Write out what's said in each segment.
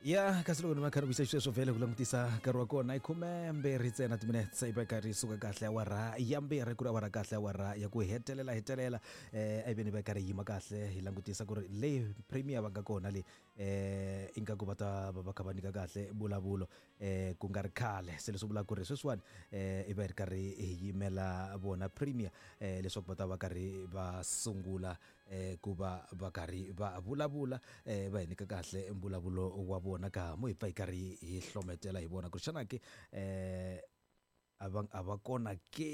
Ya, kasi loko ni va kha ni vuyisa xisweswo vhele ku langutisa nkarhi wa kona i 12 ntsena timinetse yi va karhi yi suka kahle awara ya 2, ku ri awara kahle awara ya ku hetelela hetelela. A yi ve ni va karhi yi yima kahle hi langutisa ku ri le premier va nga kona le, ingaku va ta va va kha va nyika kahle mbulavulo ku nga ri khale. Se leswi vulaka ku ri sweswiwani i va hi ri karhi hi yimela vona premier leswaku va ta va karhi va sungula ku va va karhi va vulavula, va hi nyika kahle mbulavulo wa vona ka mo hi pfa hi karhi hi hlometela hi vona ku ri xana ke a va a va kona ke.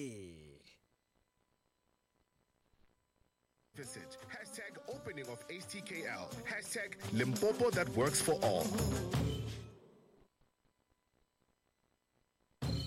Visit hashtag opening of HTKL, hashtag Limpopo that works for all.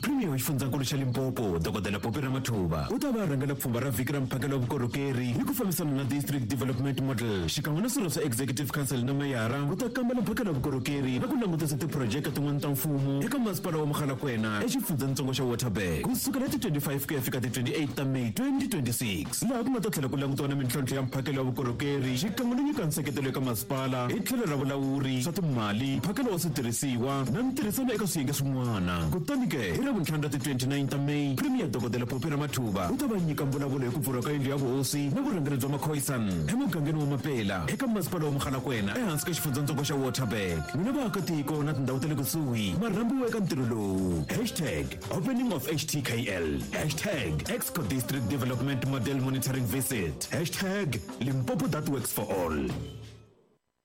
Premier wa xifundzankulu xa Limpopo, Dokodela Phophi Ramathuba, u ta va a rhangela pfhumba ra vhiki ra mphakelo wa vukorhokeri hi ku fambisana na District Development Model xikan'we na swirho swa Executive Council na meyara ku ta kambela mphakelo wa vukorhokeri na ku langutisa tiphurojeke tin'wana ta mfumo eka masipala wa Mogalakwena exifundzenitsongo xa Waterberg ku sukela hi ti 25 ku ya fika ti 28 ta May 2026, laha ku nga ta tlhela ku langutiwa na mintlhontlho ya mphakelo wa vukorhokeri xikan'we no nyika nseketelo eka masipala hi tlhelo ra vulawuri, swa timali, mphakelo wa switirhisiwa na ntirhisano eka swiyenge swin'wana. Kutani ke, hi Ravuntlhanu ra ti 29 ta May, Premier Dokodela Phophi Ramathuba u ta va nyika mbulavulo hi ku pfuriwa ka yindlu ya vuhosi na vurhangeri bya Makhoisan emugangeni wa Mapela eka masipala wa Mogalakwena ehansi ka xifundzatsongo xa Waterberg. N'wina vaakatiko na tindhawu ta le kusuhi ma rhambiwa eka ntirho lowu. Hashtag opening of HTKL, hashtag Exco District Development Model Monitoring Visit, hashtag Limpopo that works for all.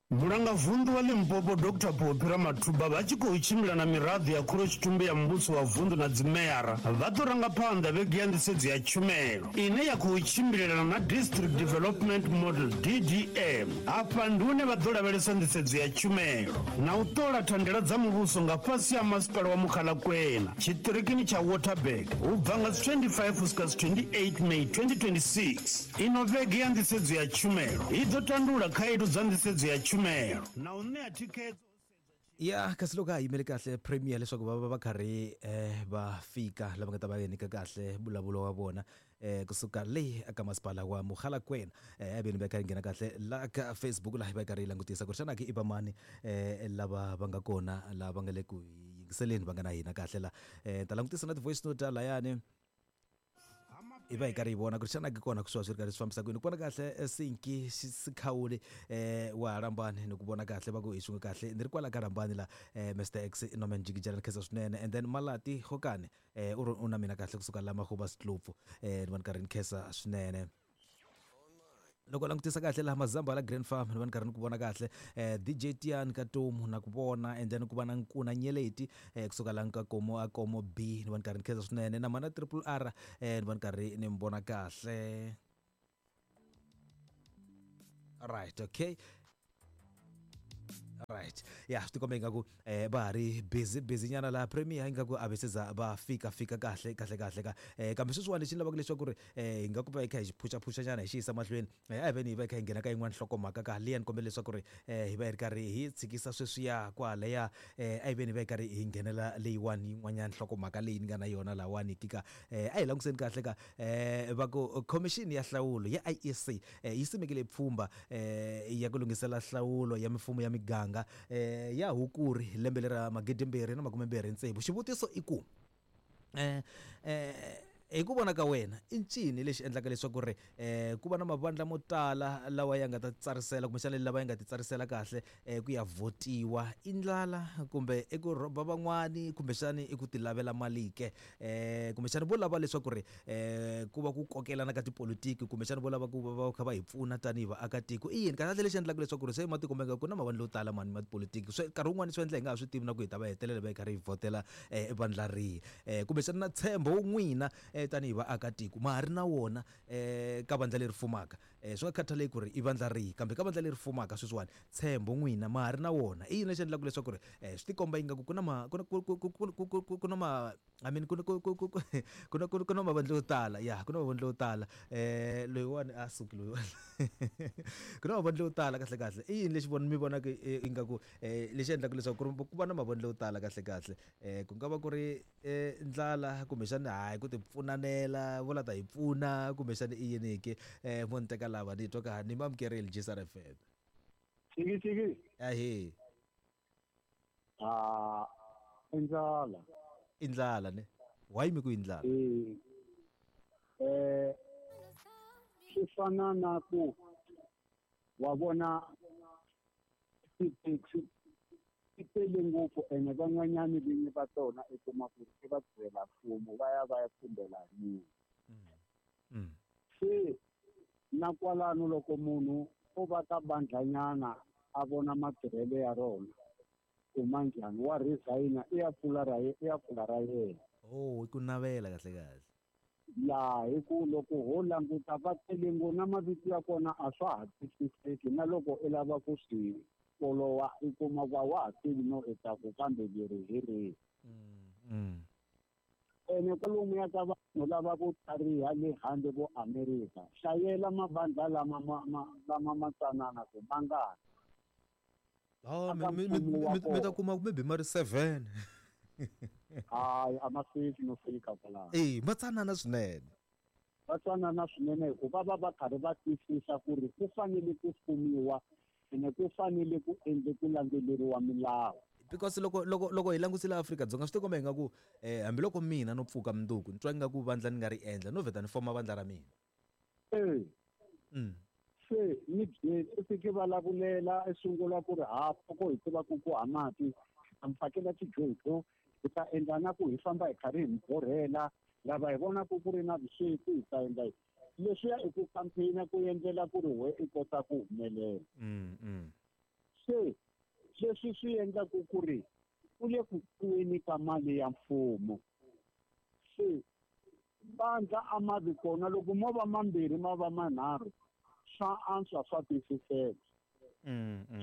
Mulangavunḓu wa Limpopo Doctor Phophi Ramathuba vha tshi khou tshimbila na miraḓo ya khorotshitumbe ya muvhuso wa vunḓu na dzimeyara vha ḓo ranga phanḓa vhege ya nḓisedzo ya tshumelo ine ya khou tshimbilelana na District Development Model, DDM. Afha ndi hune vha ḓo lavhelesa nḓisedzo ya tshumelo na u ṱola thandela dza muvhuso nga fhasi ha masipala wa Mogalakwena tshiṱirikini tsha Waterberg u bva nga dzi 25 u swika dzi 28 May 2026. Ino vhege ya nḓisedzo ya tshumelo i ḓo tandulula khaedu dza nḓisedzo ya tshumelo na u ṋea thikhedzo ho sedzwa tshi. Ya, kasi loko ha yimele kahle premier leswaku va va va karhi va fika lava nga ta va nyika kahle mbulavulo wa vona kusuka le eka masipala wa Mogalakwena. A veni va kha yi nghena kahle la ka Facebook laha yi va yi karhi yi langutisa ku ri xana ke i va mani lava va nga kona lava va nga le ku yingiseleni va nga na hina kahle la. Ni ta langutisa na ti-voice note layani. Hi va hi karhi hi vona ku ri xana ke kona ku swi va swi ri karhi swi fambisa ku yini. Ku vona kahle Sinki Sikhawuli wa ha Rambani ni ku vona kahle va ku hi swin'we kahle ni ri kwala ka Rambani la, Mister X Norman Jikijela ni khensa swinene. And then Malati Gokane u ri u na mina kahle kusuka la Magobaskloop, ni va ni karhi ni khensa swinene. Loko u langutisa kahle laha Mazamba la Grand Farm ni va ni karhi ni ku vona kahle, DJ Tiyani ka Tomu na ku vona, and then ku va na Nkuna Nyeleti kusuka la ka Komo a Komo B ni va ni karhi ni khensa swinene, na mana Triple R ni va ni karhi ni mi vona kahle. Right, okay. Right, ya swi tikomba ingaku va ha ri busy busy nyana laha premier ingaku a ve se za va fika fika kahle kahle kahle ka kambe sweswiwani lexi ni lavaka leswaku ri hi nga ku va hi kha hi xi phuxaphuxa nyana hi xi yisa mahlweni, a hi veni hi va hi kha hi nghena ka yin'wana nhlokomhaka ka liya ni kombela leswaku ri hi va hi ri karhi hi tshikisa sweswiya kwalaya, a hi veni hi va hi karhi hi nghenela leyiwani yin'wanyana nhlokomhaka leyi ni nga na yona lahawani ki ka, a hi languseni kahle ka, va ku khomixini ya nhlawulo ya IEC yi simekile pfhumba ya ku lunghisela nhlawulo ya mifumo ya miganga ya Hukuri lembe lera 2026. Xivutiso i ku, hi ku vona ka wena i ncini lexi endlaka leswaku ri ku va na mavandla mo tala lawa ya nga ta tsarisela kumbexana lava ya nga ti tsarisela kahle ku ya vhotiwa? I ndlala kumbe i ku rhoba van'wani kumbexani i ku tilavela mali ke? Kumbexana vo lava leswaku ri ku va ku kokelana ka tipolitiki, kumbexana vo lava ku va va kha va hi pfuna tanihi vaakatiko? I yini kahlekahle lexi endlaka leswaku ri se matiko ma nga ku na mavandla yo tala mani ma tipolitiki, swi nkarhi wun'wani swi endla hi nga ha swi tivi na ku hi ta va hetelela va hi karhi hi vhotela vandla rihi? Kumbexana na ntshembo n'wina tanihi vaakatiko ma ha ri na wona ka vandla leri fumaka? Swi nga khathaleki ku ri i vandla rihi, kambe ka vandla leri fumaka sweswiwani ntshembo n'wina ma ha ri na wona? I yini lexi endlaka leswaku ri swi tikomba ingaku ku na ma ku na ku ku ku ku ku ku na ma I mean ku na ku ku ku ku na ku na mavandla yo tala, ya ku na mavandla yo tala, loyiwani a suki loyiwani ku na mavandla yo tala kahle kahle. I yini lexi mi vonaka ingaku lexi endlaka leswaku ku ri ku va na mavandla yo tala kahle kahle? Ku nga va ku ri ndlala kumbexana hayi ku ti pfunanela vo la ta hi pfuna kumbexana i yini ke? Mo ni teka lava ni twa ka ni mi amukerile J S R F M. Chiki chiki. Ahee. A i ndlala. I ndlala ne? Why mi ku i ndlala? E swi fana na ku wa vona tithekisi ti tele ngopfu ene van'wanyani vinyi va tona i kuma ku i va tirhela mfumo va ya va ya khumbela hi munhu. Se na kwalano loko munhu o va ka bandlanyana a vona matirhelo ya rona ku ma njhani, wa resign i ya pfula ra i ya pfula ra yena. Oh, i ku navela kahle kahle. Ya, hi ku loko ho languta va tele ngopfu na mavito ya kona a swa ha twisiseki, na loko i lava ku swi folowa i kuma ku a wa ha tivi no i ta ku kambe leri hi rihi. Ene kwalomuya ka vanhu lava vo tlhariha le handle vo Amerika, hlayela mavandla lama lama ma tsanana ku mangani. Oh, mi ta kuma maybe ma ri 7. Hayi, a ma fiki no fika kwalano. Eh, ma tsanana swinene. Va tsanana swinene hikuva va va karhi va twisisa ku ri ku fanele ku fumiwa ene ku fanele ku endle ku landzeleriwa milawu. Because loko loko loko hi langusile Afrika-Dzonga swi tikomba ingaku hambiloko mina no pfuka mundzuku ni twa ingaku vandla ni nga ri endla no vheta ni foma vandla ra mina. Se ni byeli i fike vulavulela i sungula ku ri ha poko hi tiva ku ku ha mati ta mi fakela tijojo hi ta endla na ku hi famba hi karhi hi mi borhela lava hi vonaka ku ri na vusweti hi ta endla leswiya i ku campaign ku endlela ku ri we i kota ku humelela. Se leswi swi endlaku ku ri ku le ku kuweni ka mali ya mfumo. Se vandla a ma vi kona loko mo va mambirhi ma va manharhu swa antswa swa twisiseka.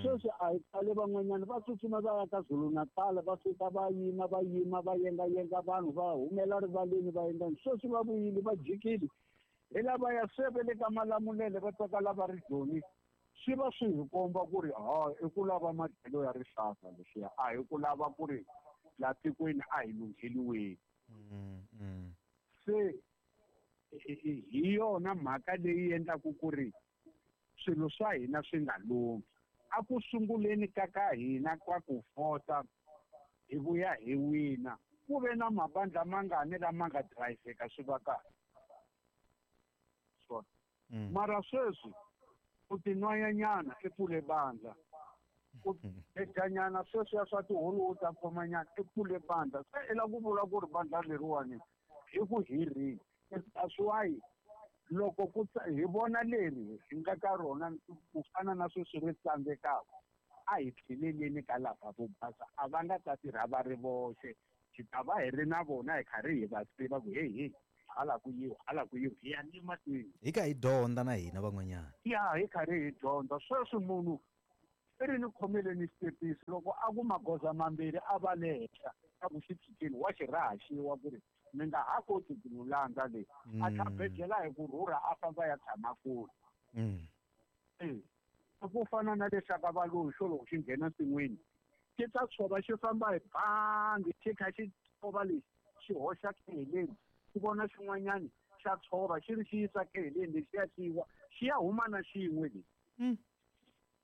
Sweswi a hi khale van'wanyana va tsutsuma va ya ka Zulu Natal va fika va yima va yima va yengayenga vanhu va humela rivaleni va endla sweswi va vuyile va jikile hi lava ya se va le ka Malamulele va tsaka lava ri Joni. Swi va swi hi komba ku ri ha i ku lava madyelo ya rihlaza leswiya a hi ku lava ku ri la tikweni a hi lungheliweni. Se hi yona mhaka leyi endlaku ku ri swilo swa hina swi nga lunghi. A ku sunguleni ka ka hina kwa ku vhota hi vuya hi wina ku ve na mabandla mangani lama nga dirayivheka swi va kahle. Swona. Mara sweswi u tinwayanyana i pfule bandla, u ejanyana sweswiya swa tiholo u ta khomanyana i pfule bandla. Se i lava ku vula ku ri bandla leriwani i ku hi rihi. That's why loko ku hi vona leri hi nga ka rona ku fana na sweswi ri tsandzekaka a hi tlheleleni ka lava vo basa a va nga ta tirha va ri voxe, hi ta va hi ri na vona hi karhi hi va tiva ku hey hey hala ku yiwa hala ku yiwa hi ya ni mahlweni. Hi ka hi dyondza na hina van'wanyana. Ya hi karhi hi dyondza. Sweswi munhu i ri ni khomeleni xitepisi loko a ku magoza mambirhi a va le henhla a ku xi tshikeni wa xi rahaxiwa ku ri mi nga ha koti ku n'wi landza leyi. A ta bejela hi ku rhurha a famba ya tshama kule. Ku fana na lexaka valungu xo loko xi nghena nsin'wini xi ta tshova xi famba hi bangi xi kha xi tshova lexi xi hoxa keheleni xi vona xin'wanyana xa tshova xi ri xi yisa keheleni lexi ya xiwa xi ya huma na xin'we lexi.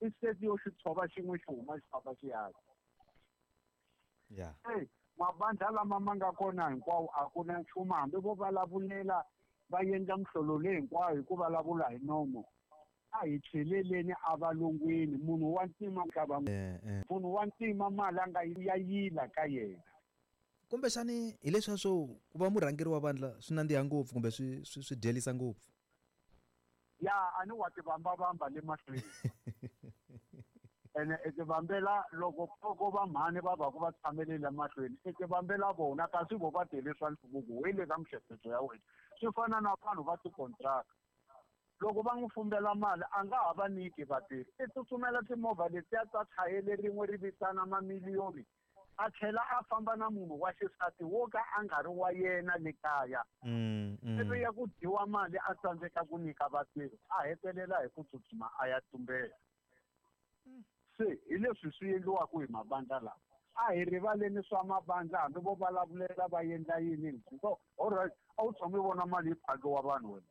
Instead yo xi tshova xin'we xi huma xi famba xi ya. Mabandla lama ma nga kona hinkwawo a ku na nchumu hambi vo vulavulela va endla mihlolo leyi hinkwayo hi ku vulavula hi nomo. A hi tlheleleni a valungwini munhu wa ntima ka va munhu wa ntima mali a nga ya yila ka yena. Kumbexani hi leswiya swo ku va murhangeri wa vandla swi nandziha ngopfu kumbe swi swi dyelisa ngopfu. Ya a ni wa ti vambavamba le mahlweni. Ene i ti vambela loko poko va mhani va va ku va tshamelele mahlweni i ti vambela vona kasi vo va tele swa nhluvuko we le ka mihleketo ya wena. Swi fana na vanhu va tikontraka loko va n'wi fumbela mali a nga ha va nyiki vatirhi i tsutsumela timovha letiya ta chayele rin'we ri vitana mamiliyoni a tlhela a famba na munhu wa xisati wo ka a nga ri wa yena le kaya. Ivi ya ku dyiwa mali a tsandzeka ku nyika vatirhi a hetelela hi ku tsutsuma a ya tumbela. Se hi leswi swi endliwaka hi mabandla lawa. A hi rivaleni swa mabandla hambi vo vulavulela va endla yini. So all right, a wu tshami vona mali yi phakiwa vanhu wena.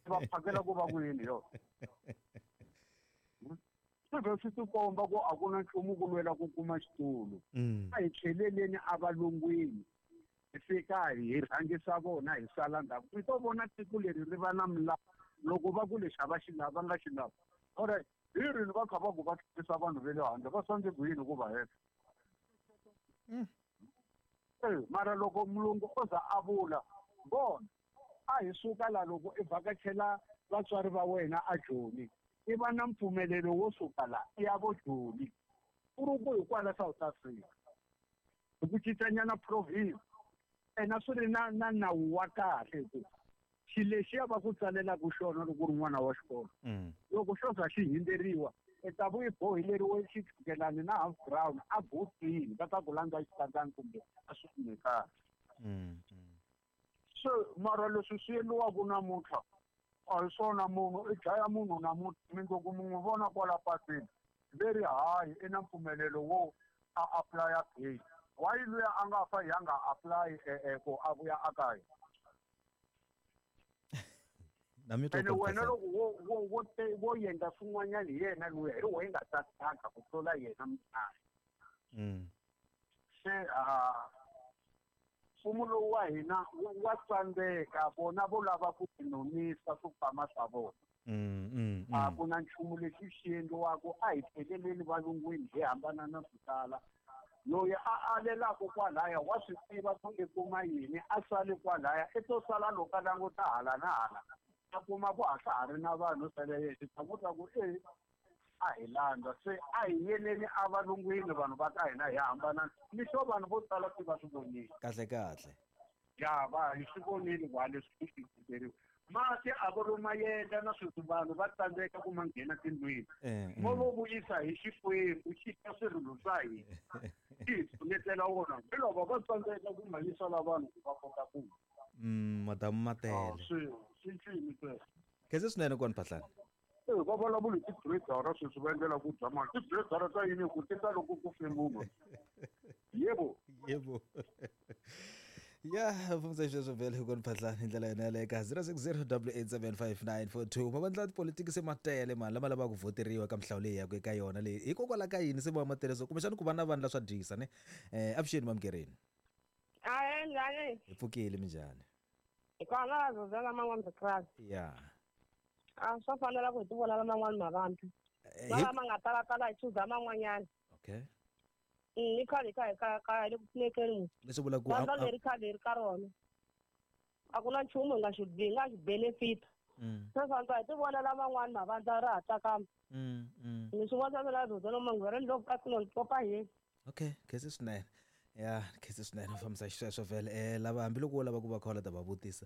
Va phakela ku va ku yini yo? Swi vhe swi tikomba ku a ku na nchumu ku lwela ku kuma xitulu. A hi tlheleleni avalungwini hi fika hi rhangisa vona hi sala ndzhaku. Mi to vona tiko leri ri va na milawu loko va ku lexi a va xi lavi va nga xi lavi. Alright, hi rini va kha va ku va tlherisa vanhu ve le handle va sandze ku yini ku va heta? Mara loko mulungu o za a vula vona a hi suka la loko i vhakachela vatswari va wena a Joni i va na mpfumelelo wo suka la i ya vo Joni ku ri ku hi kwala South Africa hi ku cincanyana province ena swi ri na na nawu wa kahle ku xilo lexiya va ku tsalelaka xona loko u ri n'wana wa xikolo loko xo za xi hindzeriwa i ta vu i boheleriwe xichukelani na half ground a botini va ta ku landza xitandzani kumbe a swi kume kahle. Se mara leswi swi endliwaka namuntlha a hi swona munhu i dlaya munhu namuntlha mindzuku mi n'wi vona kwala patwini ve ri hayi i na mpfumelelo wo a apply-a bail why luya a nga fa hi a nga apply ku a vuya a kaya. Na mi twa Ene ku wena kahle. loko wo wo wo te wo endla swin'wanyana hi yena luya hi wehe nga ta tsaka ku tlula yena mudlayi. Se a mfumo lowu wa hina wa tsandzeka vona vo lava ku tinonisa swikwama swa vona. A ku na nchumu lexi xi endliwaka a hi tlheleleni valungwini hi hambana na swo tala. Loyi a alelaka kwalaya wa swi tiva ku i kuma yini a sali kwalaya i to sala loko a languta hala na hala a kuma ku a swa ha ri na vanhu sale yexe ta ku ta ku e a hi landza se a hi yeleni a valungwini vanhu va ka hina hi hambana ni swo vanhu vo tala se va swi vonile. Kahle kahle. Ya va hi swi vonile ku leswi swi fikeleriwa. Mati a vo lo mayendla na sweswi vanhu va tsandzeka ku ma nghena tindlwini. Mo vo vuyisa hi Xikwembu xi ta swirilo swa hina. Xi hi pfunetela wona. Hi loko va tsandzeka ku ma yisa la vanhu ku va kota ku. Madamu matele. Swi swi ncini sweswo. Khensa swinene kona Phahlane. Va vulavula hi ti-grader sweswi va endlela ku dya mali. Ti-grader ta yini ku ti ta loko ku fe munhu. Yebo. Yebo. Ya fambisa xisweswo vhele kona Phahlane hi ndlela yona yaleyo ka 060 8875942 mavandla ya tipolitiki se ma tele mani lama lavaka ku voteriwa ka mihlawulo leyi yaka eka yona leyi hikokwalaho ka yini se va ma tele so kumbexana ku va na vandla swa dyisa ne avuxeni mamukerini. Ahe njhani? Hi pfukile minjhani? Hi kona va zozela man'wani vakrasi. Ya. A swa fanela ku hi ti vonela man'wani mavandla. Lama nga talatala hi chuza man'wanyana. Okay. I khale ka hi ka ka le ku pfunekeni. Leswi vulaka ku Vandla leri khale ri ka rona. A ku na nchumu hi nga xi hi nga xi benefit. Se swa hi ti vonela man'wani mavandla ra ha tsakama. Ni swi vona mina zozela man'wani loko ka ku kopa hi. Okay, khensa swinene. Ya, khensa swinene fambisa xisweswo vhele lava hambiloko wo lava ku va khola ta va vutisa.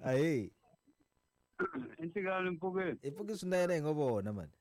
Ahe. Intikani mpfukeni. Hi pfuki swinene hi ngo vona mani.